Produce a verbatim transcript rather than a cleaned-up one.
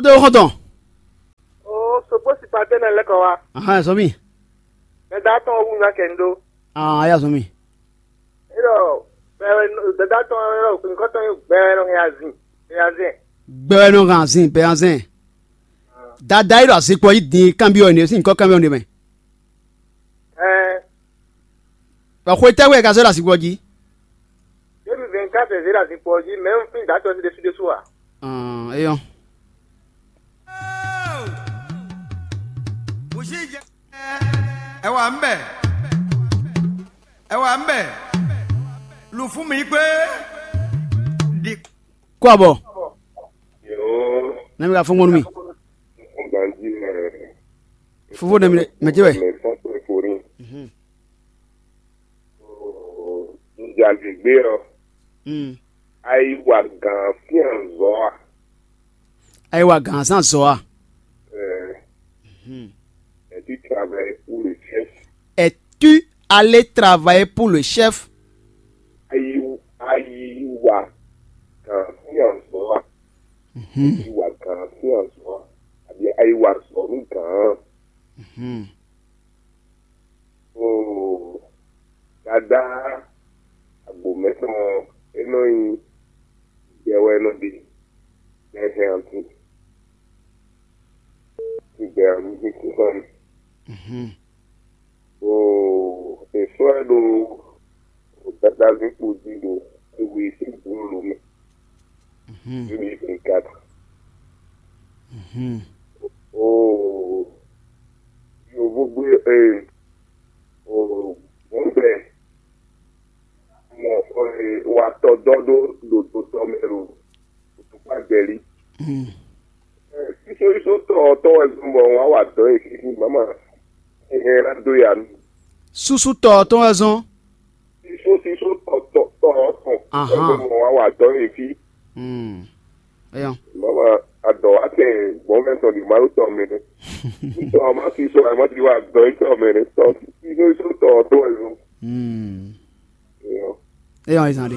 Tó xɔ́ntɔn. Oo, sokpó si kpa tɛ́ nɔ lɛ́ kɔ wá. Ahan, sɔmi. Mɛ da tɔn wú nya kɛ ndo. Ah, ya sɔmi. Ero, bɛ bɛ da tɔn ero, kun kɔ tɔn bɛ nɔ ya zin. Ya zin. Gbɛwɛ nɔ hàn zin bɛ hàn zin. Dada yi ɖo azikpɔ yi din kanbyɔ ne, sin kɔ kanbyɔ ne mɛ. Ɛɛ. Bɔ xwe tɛ́ wɛ ka zɔ ɖo azikpɔ jí? Deux mille vingt-quatre zé ɖo azikpɔ jí, mɛ un fin da tɔn si ɖésú ɖésú a? Ɔn, eyɔn. Ẹ wà ń bẹ̀. Ẹ wà ń bẹ̀. Lù fún mi pé. Di. Kó abɔ. Yoo. Nami ka fɔn gbɔn mi. Ganji mɛ. Fofo nami mɛ jɛ wɛ. Mɛ fɔn pé forí. Mhm. Nzalɛgbé ɔ. Mm. Ayiwa gan fían zɔ a? Ayiwa gan san zɔ a? Euh, Mhm. Et tu travailles pour le chef. Et tu allais travailler pour le chef? Ayi ayiwa gan fían zɔ a? Mhm. Ayiwa gan fían zɔ a? Àbí ayiwa zɔ nú gan? Mhm. Oo, Dadá agbǒmɛ tɔn ɔ́, é nɔ nyí gbɛ wɛ é nɔ ɖe, bɔ é hɛn atin, sín gbɛ ɔ́ nú sín sín tɔn mɛ. Mhm. Bó è sɔ́ ɛ ɖó gbadazínkpo jí ɖo éwe sín glólo mɛ. Mhm. Éwe é kat. Mhm. Oo, yovógbé ee, oo, gbɔ̌ngbɛ mɔ ee, wa tɔ dɔ ɖó ɖo dotɔ mɛ ɖo tukpa gbɛlí. Mhm. Sísósísó tɔ ɔ́ tɔn wɛ zɔn bɔ wǎn wa dɔ̌ e fífí mama. Ehɛn ná dó ya nú. Súsú tɔ ɔ́ tɔn wɛ zɔn. Sísósísó tɔ tɔ tɔ ɔ́ tɔn wɛ Ahan. Zɔn bɔ wǎn wa dɔ̌ e fí. Hmm. Eyɔn. Mama adɔ wa tɛ gbɔn fɛ tɔn di malu tɔ mɛ nɛ. Tɔ ma fi sɔ ma ti wa dɔ̌ e tɔ mɛ nɛ tɔ. Sísósísó tɔ tɔn wɛ zɔn. Hmm. Eyɔn. Eyɔn ezan de.